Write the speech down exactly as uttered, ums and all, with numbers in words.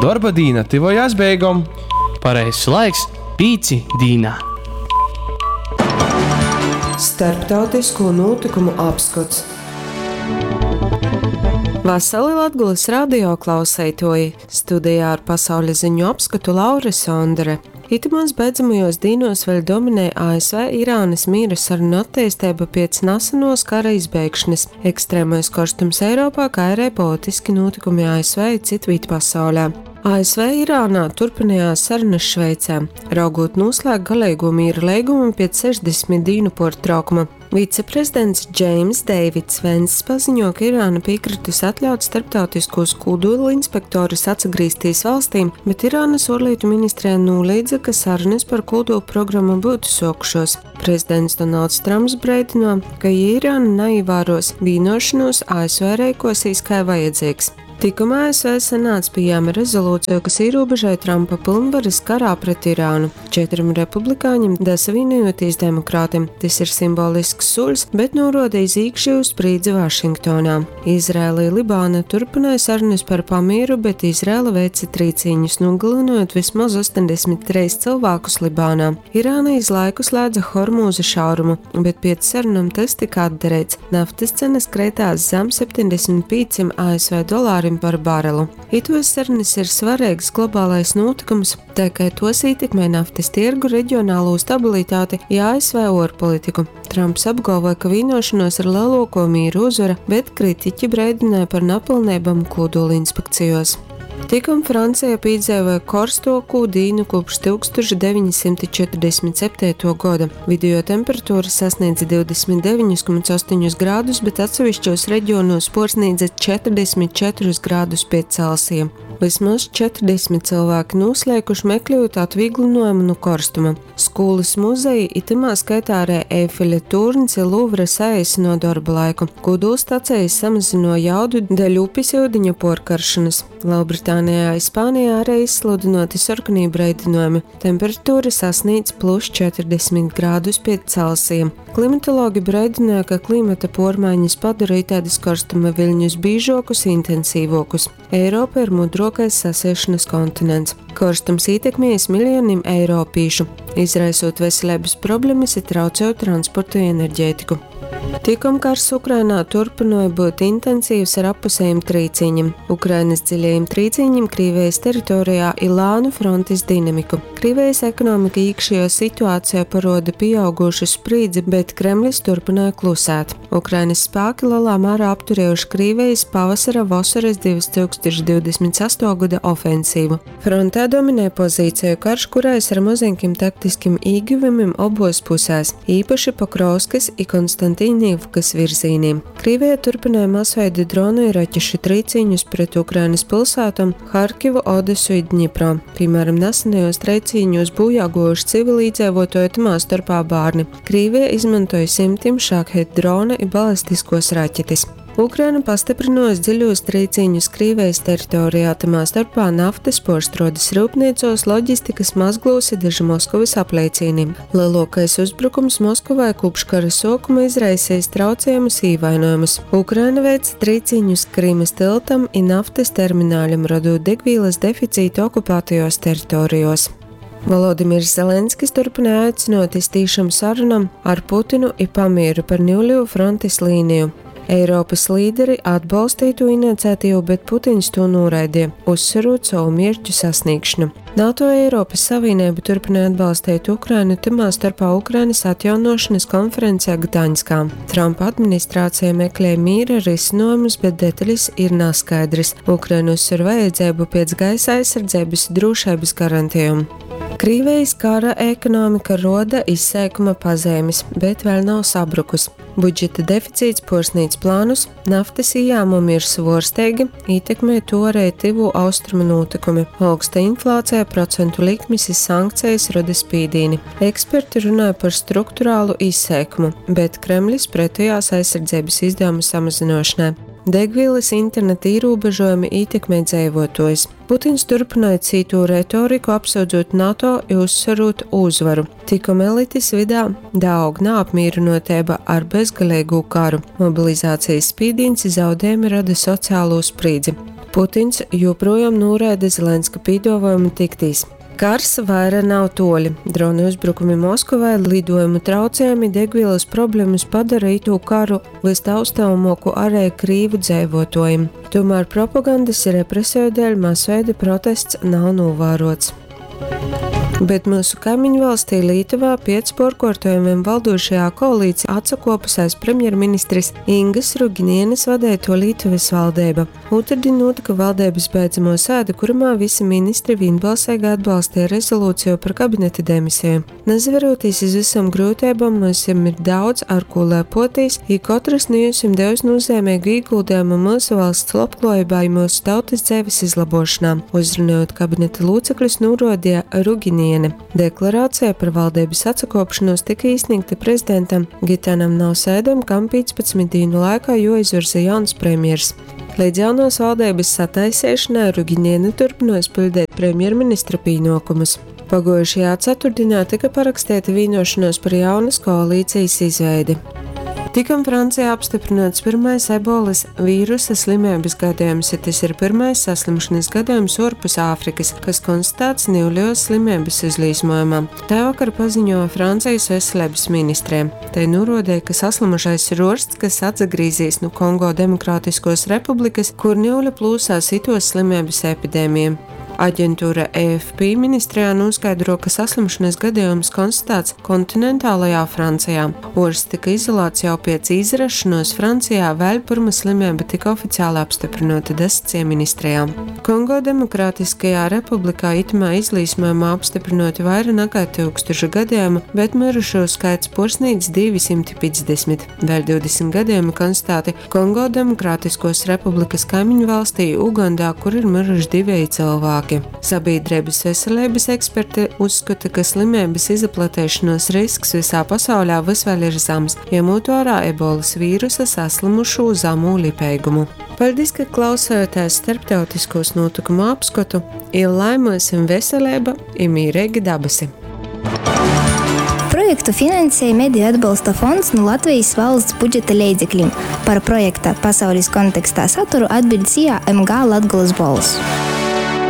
Dorba dīna tyvojās beigom. Pareizs laiks pīci dīnā. Starptautisko nūtykumu apskots. Vasali Latgolys radio klauseituoji! Studejā ar pasauļa ziņu apskotu Laura Sondore. Itymos beidzamajuos dīnuos vēļ dominej A S V Irānys mīra sarunu atteisteiba piec nasenuos kara izbeigšonys, ekstremais korstums Eiropā, kai ari politiski nūtykumi A S V i cytvīt pasaulē. A S V Irānā turpinājās sarunas Šveicē, raugot noslēgt galīgo mīra leigumu pēc sešdesmit dīnu pārtraukuma. Viceprezidents Džeims Deivids Venss paziņo, ka Irāna piekritusi atļaut starptautiskos kodola inspektorus atgriezties valstī, bet Irānas ārlietu ministrija noliedza, ka sarunas par kodola programmu būtu sokušos. Prezidents Donalds Trumps brīdino, ka, ja Irāna neievēros vienošanos, A S V rīkosies kā vajadzīgs. Tikuma A S V senāts pieņēma rezolūciju, kas ierobežoja Trumpa pilnvaras karā pret Irānu. Četriem republikāņiem dasavienojoties demokrātiem. Tas ir simbolisks solis, bet norāda iz iekšējo sprīdzi Vašingtonā. Izraēla i Libāna turpināja sarunas par pamieru, bet Izraēla veica trīcīņus, nogalinot vismaz astoņdesmit trīs cilvēkus Libānā. Irāna iz laiku slēdza Hormūza šaurumu, bet pēc sarunām tas tika atdarīts. Naftas cenas kreitās zem septiņdesmit pieciem A S V dolāriem par barelu. Itos sarunas ir svarīgs globālais notikums, tā kā tos ietekmē naftas tirgu, reģionālo stabilitāti i A S V ārpolitiku. Trumps apgalvoja, ka vienošanos ir lielāko mīru uzvara, bet kritiķi brīdināja par nepilnībām kodola inspekcijos. Tikom Francija piedzīvoja karstuoku dīnu kopš tūkstoš deviņsimt četrdesmit septītuo gada. Vidējo temperatūra sasniedza divdesmit deviņus komats astoņus grādus, bet atsevišķos reģionos porsniedza četrdesmit četrus grādus pie Celsija. Vismaz četrdesmit cilvēki noslēkuši, meklējot atvieglinājumu no karstuma. Skolas, muzeji, i tymā skaitā arī Eifeļa tūrns i Luvra saeisino darba laiku. Kodolstacijas samazino jaudu dēļ upes iudiņa porkaršanas. Lielbritānijā i Spānijā arī izsludinoti sarkanie brīdinājumi. Temperatūra sasniedz plus četrdesmit grādus pie Celsija. Klimatologi brīdināja, ka klimata pormaiņas padarīja tādas karstuma viļņus bīžokus, intensīvokus. Eiropa ir mudrokais sasiešanas kontinents. Karstums ietekmējis miljoniem eiropīšu, izraisot veselības problēmas i traucējot transportu i enerģētiku. Tikom kars Ukrainā turpināja būt intensīvs ar appusējiem trīcīņiem, Ukrainas dziļajiem trīcīņiem Krievijas teritorijā i lānu frontes dinamiku. Krievijas ekonomika iekšējo situācijā paroda pieaugušu sprīdzi, bet Kremlis turpināja klusēt. Ukrainas spēki lielā mērā apturējuši Krievijas pavasara vasaras divtūkstoš divdesmit astotuo gada ofensīvu. Frontē dominē pozīciju karš, kurais ar mazinkim taktiskim īguvumiem obos pusēs, īpaši Pokrovskas i Konstantīnivkas virzīniem. Krievija turpināja masveida dronu i raķešu trīcīņus pret Ukrainas pilsētām Harkivu, Odesu i Dņipro. Piemēram, nesenajos trīcīņos bojā gojuši civilīdzīvotāji, tamā starpā bērni. Krievija izmantoja simtiem šāhed drona i balistiskos raķetes. Ukraina pastiprinojas dziļos trīcīņus Krievijas teritorijā, tamā starpā naftas porštrodes rūpnīcos, loģistikas mazglos i daži Moskovas apleicīni. Lielākais uzbrukums Moskovai kopš kara sākuma izraisījis traucējumus īvainojumus. Ukraina veica trīcīņus Krimas tiltam i naftas termināļam, radot degvielas deficītu okupētajos teritorijos. Volodimirs Zelenskis turpināja aicinot iz tīšām sarunām ar Putinu i pamieru par niuļu frontes līniju. Eiropas līderi atbalstīja to iniciatīvu, bet Putins to noraidīja, uzsverot savu mērķu sasniegšanu. NATO, Eiropas Savienība turpina atbalstīt Ukrainu, tamā starpā Ukrainas atjaunošanas konferencē Gdaņskā. Trumpa administrācija meklē mīra risinājumus, bet detaļas ir neskaidras. Ukraina uzsver vajadzību pēc gaisa aizsardzības i drošības garantijām. Krievijas kara ekonomika roda izseikuma pazīmes, bet vēl nav sabrukus. Budžeta deficīts porsnīdz plānus, naftas ieņēmumi ir svorsteigi, ietekmē to arī tuvu austrumu notikumi. Augsta inflācija, procentu likmes i sankcijas rada spīdīni. Eksperti runāja par struktūrālu izseikumu, bet Kremlis pretojās aizsardzības izdevumu samazināšanai. Degvielas interneta ierobežojumi ietekmē dzīvotājus. Putins turpināja citu retoriku, apsūdzot NATO i uzsverot uzvaru. Tikom elites vidā daug neapmierinotība ar bezgalīgu karu. Mobilizācijas spīdīns i zaudējumi rada sociālo sprīdzi. Putins joprojām noraida Zelenska pīduovojumu tiktīs. Kars vaira nav toļi. Dronu uzbrukumi Moskovai, lidojumu traucējumi, degvielas problēmas padara itū karu vystaustāmoku arī krīvu dzeivotojim. Tomēr propagandas represiju dēļ masveida protests nav novērots. Bet mūsu kaimiņu valstī Lītuvā piec porkortojumiem valdošajā koalīcijā atsakopusais premjerministris Ingas Ruginienes vadēto Lītuvas valdība. Otrdien notika valdības beidzamo sēde, kurumā visi ministri vienbalsīgi atbalstīja rezolūciju par kabineta demisiju. Nezaverotīs iz visam grūtībām, mums ir daudz ar ko lepoties, i katrs no jums devis nozīmīgu ieguldījumu mūsu valsts labklājībā i mūsu tautas dzīves izlabošanā. Uzrunājot kabineta locekļus, norādīja Ruginiene. Deklarācija par valdības atsakopšanos tika iesniegta prezidentam Gitanam Nausēdam, kam piecpadsmit dienu laikā joizvirza jauns premjers. Līdz jaunos valdības sataisīšanai Ruginiene turpinās pildīt premjerministra pienākumus. Pagājušajā ceturtdienā tika parakstīta vienošanās par jaunas koalīcijas izveidi. Tikam Francijā apstiprināts pirmais ebolas vīrusa slimības gadījums, ja tas ir pirmais saslimšanas gadījums ārpus Āfrikas, kas konstatēts Nīļos slimības izlīsmojumā. Tā vakar paziņoja Francijas veselības ministrē. Tai norādīja, ka saslimušais ir orsts, kas atsagrīzīs no Kongo Demokrātiskos republikas, kur Nīļa plūsās itos slimības epidēmija. Aģentūra E F P ministrijā noskaidro, ka saslimšanas gadījums konstatēts kontinentālajā Francijā. Orsts tika izolēts jau pēc izrašanos Francijā, vēl pirms slimība tika oficiāli apstiprināta desmitie ministrijā. Kongo Demokrātiskajā republikā itamā izlīsmojumā apstiprināti vairāk nekā tūkstoši gadījumu, bet mirušo skaits porsnīdz divi simti piecdesmit. Vēl divdesmit gadījumi konstatēti Kongo Demokrātiskos republikas kaimiņu valstī Ugandā, kur ir miruši divi cilvēki. Sabiedrības veselības eksperti uzskata, ka slimības izplatēšanos risks visā pasaulē vis vēl ir zems, ņemot vērā ebolas vīrusa saslimušo zemu lipēgumu. Paldies, ka klausājāties starptautiskos notikumu apskatu, ir laimēsim veselība, ir mīrīgi dabasi. Projektu finansēja Mediju atbalsta fonds no Latvijas valsts budžeta leidzekļiem. Par projekta pasaules kontekstā saturu atbild S I A M G Latgulas Bols.